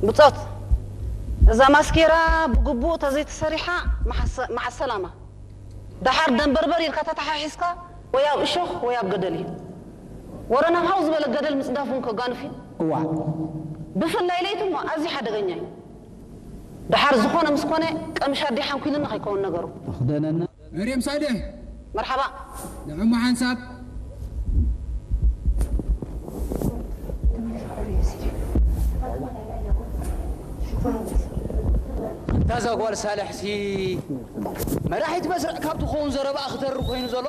ብጾት፣ እዛ ማስኬራ ብግቡእ ተዘይተሰሪሓ መዓሰ- መዓሰላማ። ደሓር ደንበርበር ኢልካ ተተሓሒዝካ ወይ ኣብ እሾኽ ወይ ኣብ ገደል እዩ። ወረ ናብ ሃው ዝበለ ገደል ምጽዳፍ እውን ከጋንፍ እዩ። እዋ ብፍላይ ለይቲ እሞ ኣዝዩ ሓደገኛ እዩ። ደሓር ዝኾነ ምስ ኮነ ቀምሽ ኣዴ ሓንኲልና ከይከውን ነገሩ። ተኽደነና። መርየም ሳልሕ መርሓባ። ንዕሞ ሓንሳብ እታ እዛ ጓል ሳልሕሲ መራሒት መስርዕ ካብ ትኸውን ዘረባኣ ክተሪ ኮይኑ ዘሎ